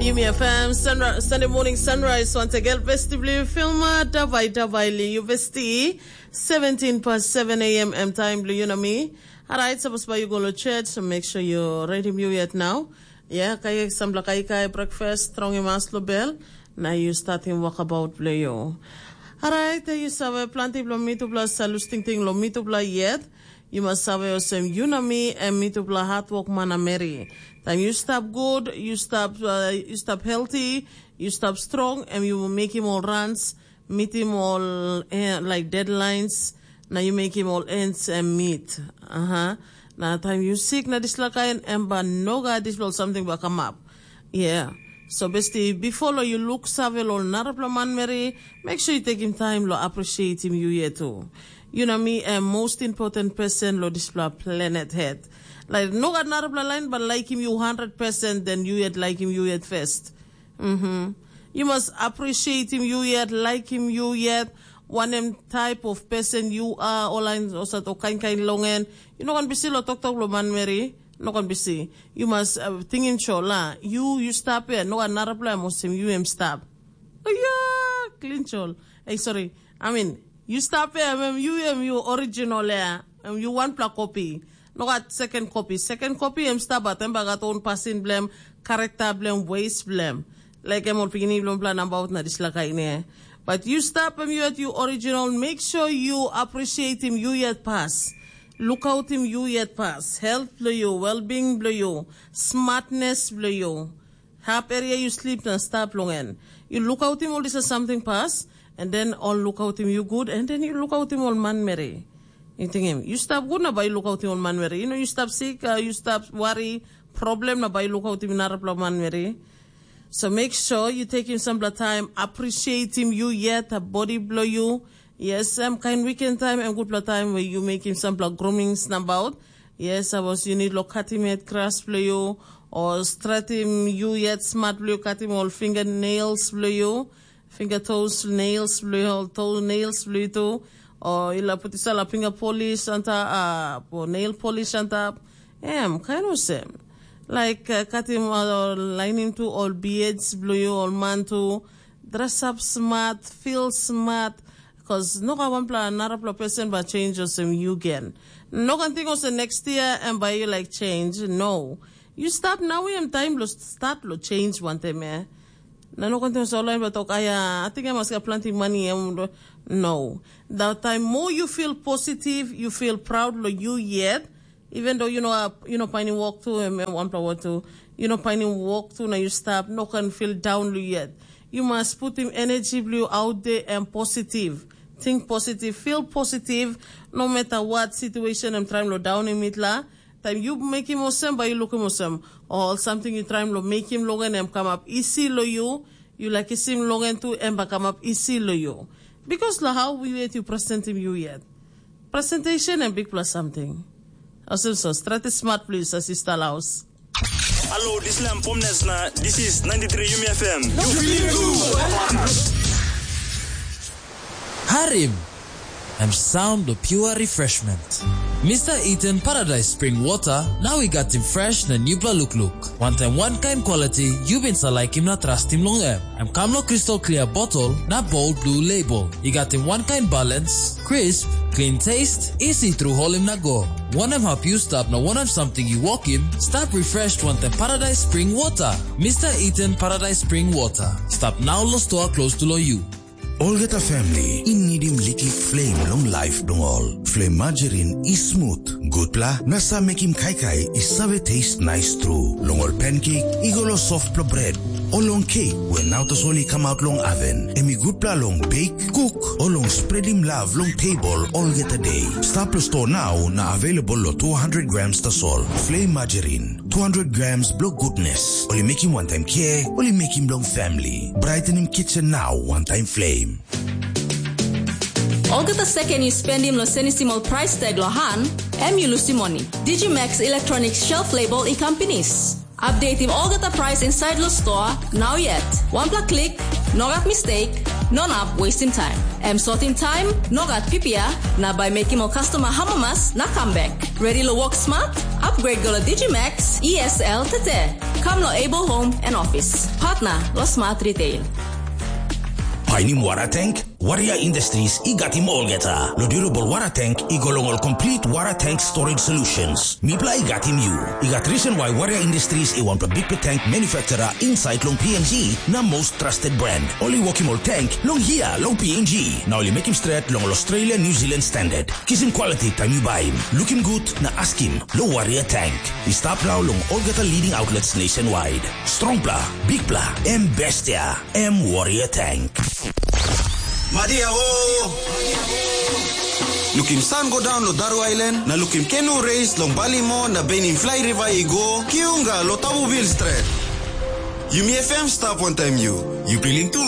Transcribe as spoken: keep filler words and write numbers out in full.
Yumi F M, sunri- Sunday morning sunrise once again. Besti bli filma, davai davai li yu besti. Seventeen past seven a m em time bli yu na mi. Alright, sapos ba yu go lo church, so make sure you ready yu yet now. Yeah, kai sampla kai kai breakfast, strong mas lo bell. Na yu starting walkabout bli yu. Alright, yu save planti blo mitupla sa lus tingting lo mitupla yet. Yu mas save olsem yu na mi em mitupla hatwok man na meri. Taim yu stap gut, yu stap, uh, yu stap healthy, yu stap strong, em yu mekim ol runs, mitim ol eh, like deadlines, na yu mekim ol ends em meet. Aha. Na taim yu sik na dispela kain, em ba nogat dispela ol samting ba kamap. Yeah. So besti, before lo yu luk save lo narapela manmeri, make sure you take him time lo appreciate him you yet too. You know me, a most important person lo dispela planet head. Like no gat narapela line, but like him you hundred percent, then you yet like him you yet first. Mm-hmm. You must appreciate him you yet, like him you yet. Wanem type of person you are, all line osat o kain kain longen. You know kan bisi lo tok tok lo manmeri. No kan bisi. You must uh, tingin cho la. You you stop here. No another plan mo sim you em stop. Oh yeah, clean chol. Hey, sorry. I mean, you stop here. Em you em you original ya. Em you one pla copy. No gat second copy. Second copy em stop at em bagat own passing blem, character blem, ways blem. Like em ol pikinini blem plan about na dislike ne. But you stop em you at you original. Make sure you appreciate him you yet pass. Look out him you yet pass. Health blue you, well-being blue you, smartness blue you. Hap area you sleep na stap long en. You look out him all this is something pass, and then all look out him you good, and then you look out him all manmeri. You think him, you stop good na by look out him all manmeri. You know, you stop sick, uh, you stop worry, problem na by look out him narapla manmeri. So make sure you take him some time, appreciate him you yet, a body blow you. Yes, em kain weekend time em gutpela time where you make him sampela groomings nabaut. Yes, I was you need lo cutting it grass blo you or stratim you yet smart blo you cutting all fingernails blo you, finger toes nails blo you, all toe nails blo you too. Or ila put isala finger polish antap, uh, or nail polish antap. Em, kain olsem. Like uh, cutting or lining to all beards blo you, all man too. Dress up smart, feel smart, because no gat wanpela narapela person ba change olsem you gen. No kan think olsem next year em by you like change. No. You start now em time lo start lo change wantem eh. Na no kan think olsem online ba tok aya, I think I must get plenty money em. No. That time more you feel positive, you feel proud lo you yet. Even though you know uh, you know finding work too and one power too, you know finding work too now you stop no can feel down lo yet. You must put him energy blue out there and positive. Think positive, feel positive, no matter what situation I'm trying to down in it la. Time you make him osem, but you look him osem. Or something you trying to make him long and him come up easy lo you. You like him long and too and back come up easy lo you. Because la how we wait you present him you yet. Presentation and big plus something. Olsem so, straight smart please, as sister Laos. Hello, this is Lam Pomnes na this is ninety-three Yumi F M. Harim! Em sound of pure refreshment. Mister Eaton Paradise Spring Water, now we got him fresh na new look look. One time, one kind quality, you been sa like him na trust him long em. Em kam lo crystal clear bottle na bold blue label. I gat him wankain balance, crisp, clean taste, easy through holim na go. Wanem hap yu stap na wanem samting yu wokim, stap refreshed wantaim Paradise Spring Water. Mister Eaton Paradise Spring Water. Stap nau lo stoa close to lo yu. Olgeta family i nidim liklik flame long life bilong ol. Flame margarine i smooth, gutpela na sa mekim kaikai i save taste nice tru. Long ol pancake i go long softpela bread, o long cake we nau tasol i kamap long oven. Em i gutpela long bake, cook, o long spreadim love long table olgeta day. Stap lo store now na available lo two hundred grams tasol. Flame margarine, two hundred grams blo goodness. Ol i mekim wantaim care, ol i mekim long family. Brightening kitchen now wantaim flame. Olgeta second you spend him lo senisim ol price tag lo han, em you lusim money. Digimax Electronic Shelf Label i kam pinis. Update him olgeta price inside lo store, now yet. One pla click, no gat mistake. No nap wasting time. Em sorting time, no gat pipia, na by making more customer hamamas na comeback. Ready lo work smart? Upgrade go lo Digimax E S L tete. Come lo Able Home and Office. Partner lo Smart Retail. Painim wara tank? Warrior Industries i gatim olgeta. Lo durable wara tank i go long ol complete wara tank storage solutions. Mipla i gatim yu. I gat reason why Warrior Industries i wanpela bikpela tank manufacturer inside long P N G na most trusted brand. Ol i wokim ol tank long hia long P N G. Na ol i mekim stret long ol Australia New Zealand standard. Kisim quality taim yu baim. Lukim gut na askim lo Warrior Tank. I stap nau long olgeta leading outlets nationwide. Strongpla, bikpla, em bestia, em Warrior Tank. Madia o! Lukim san go daun lo Daru Island, na lukim kenu reis long Balimo na benim flai riva i go, kiunga lo Tabu Vil Stret. Yumi F M stap wantaim yu. Yu pilim tu?